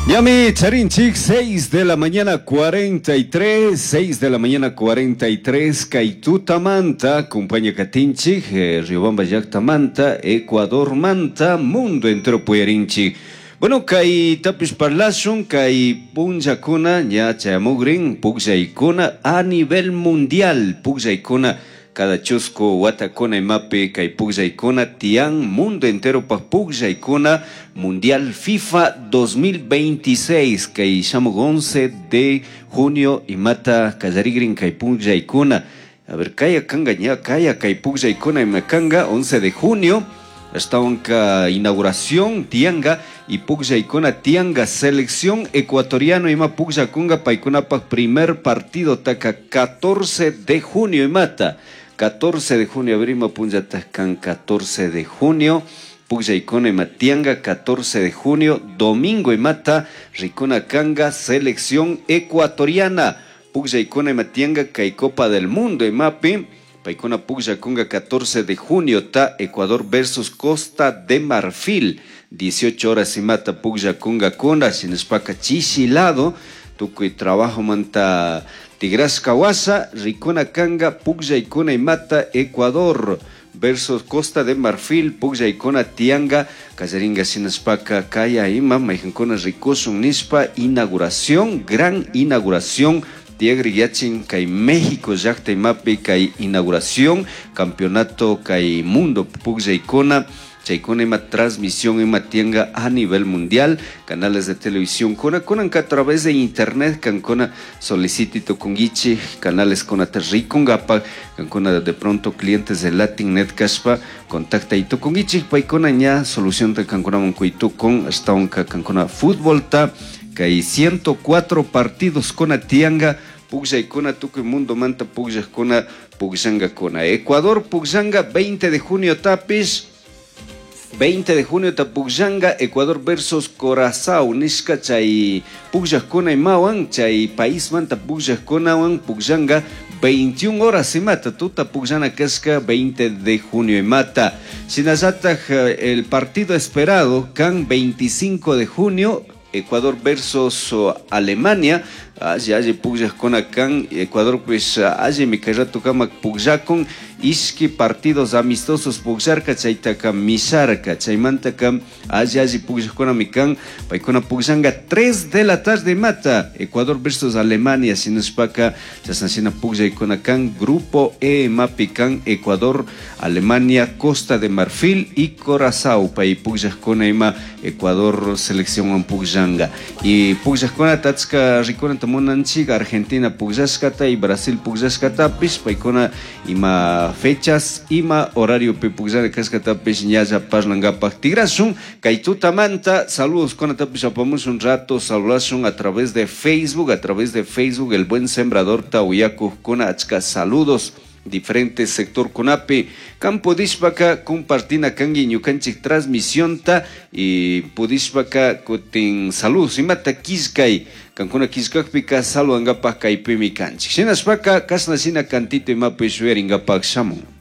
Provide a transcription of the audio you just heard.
Ñami charinchik 6 de la mañana 43, 6 de la mañana 43, kay tutamanta, compañía katinchik, Riobamba llaktamanta, Ecuadormanta, mundo entero puyarinchik. Bueno, kay tapish parlashun, kay punllakuna, ña chayamugrin, pukllaykuna a nivel mundial, pukllaykuna cada chusku watakuna imapi kay pukllaykuna tiyan mundo entero pa pukllaykuna mundial FIFA 2026 kay shamuk 11 de junio imata kallarigrin kay pukllaykuna. A ver, kaya kanga ña kaya kay pukllaykuna ima kanga 11 de junio ashtawanka inauguración tianga y pukllaykuna tianga selección ecuatoriano ima pukllakunga paykunapak primer partido taka 14 de junio imata 14 de junio, a ver, ima punllata kan 14 de junio. Pukllaykuna ima tianga 14 de junio, domingo imata rikuna kanga selección ecuatoriana. Pukllaykuna ima tianga kay Copa del Mundo imapi. Paykuna pukllakunga 14 de junio ta Ecuador versus Costa de Marfil. 18 horas imata pukllakunga kuna shinashpaka chishi lado tukuy trabajo manta tigrashka washa rikuna kanga pukllaykuna imata Ecuador versus Costa de Marfil pukllaykuna tianga kallaringa shinashpaka kaya ima maykankuna rikushun nishpa inauguración, gran inauguración tiyagri yachin kay México llakta imapi kay inauguración campeonato kay mundo pukllaykuna chaykuna ima transmisión ima tianga a nivel mundial canales de televisión kuna kunanka a través de internet kankuna solicitito kungichi canales kunata rikungapak kankuna de pronto clientes de Latin Net kashpa contacta itukungichik paykuna ña solución ta kankunaman kuytukun ashtawanka kankuna fútbol ta kay 104 partidos kuna tianga pukllaykuna tukuy mundo manta pukllakuna pukllankakuna. Ecuador pukllanga 20 de junio tapish 20 de junio tapukllanga Ecuador versus Corazao nishka chay pukllakuna imawan chay país manta pukllakkunawan pukllanga 21 horas imata tuta pukllana kashka 20 de junio imata. Shinallatak el partido esperado kan 25 de junio Ecuador versus Alemania. Alli alli pukllakuna kan Ecuador pues allimi kay rato kamak pukllakun ishki partidos amistosos pukllarka chaytaka misharka chaymantaka alli alli pukllakkunami kan paykuna pukllanka 3 de la tarde mata Ecuador versus Alemania shinashpaka chashna shina pukllaykuna kan grupo E mapi kan Ecuador, Alemania, Costa de Marfil y Corazao pay pukllakuna ima Ecuador selección pukllanka y pukllakuna achka rikunata munanchik Argentina pukllashkata y Brasil pukllashkatapish paykuna ima fechas ima horario pi pukllana kashkatapish ñalla parlangapak tigrashun kay tutamanta saludos kunatapish apamush un rato saludashun a través de Facebook, a través de Facebook el buen sembrador tawiyakujkuna achka saludos diferentes sector kunapi kan pudishpaka compartina kanki ñukanchik transmisionta y pudishpaka kutin saludos imata killkay kankuna killkakpika saludangapak kaypimi kanchik shinashpaka kashna shina cantito imapish yuyaringapak shamun.